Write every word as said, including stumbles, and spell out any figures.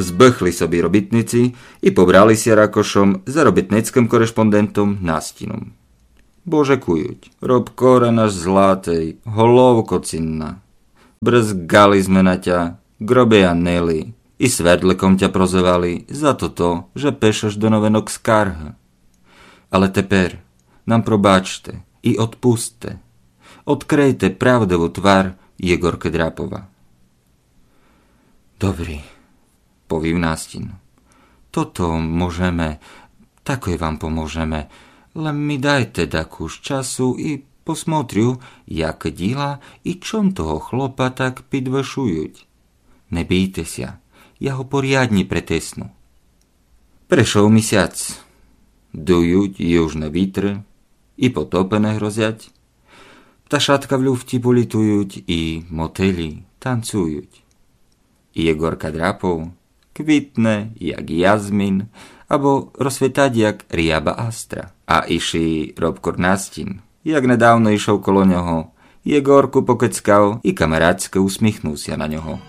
Збыхли собі робітниці і побрали ся ракошом за робітницькым корešпондентом Настіном. Бо жекують: Робкоре наш златый, головко цінна, брызгали сьме на тя, ґробы янили і свердликом тя прозывали за тото, же пишеш до новинок скаргы. Але тепер нам пробачте і одпустте. Одкрийте правдиву твар Єґоркы Драпова. Добрі, повів Настін. Тото можеме, такой вам поможеме. Лем мі дайте дакус часу і посмотрю, як діла і чом того хлопа так підвышують. Не бійте ся, я го порядні притисну. Пришов місяц. Дують южны вітры, і потопы не грозять. Пташатка в люфті політують, і мотилі танцують. І Єґорка Драпов квітне, як язмін, або розцвітать, як рябова астра. А ішый Робкор Настін, як недавно ішов коло нього, Єґорку покицкав і камарадськы усміхнув ся на нього.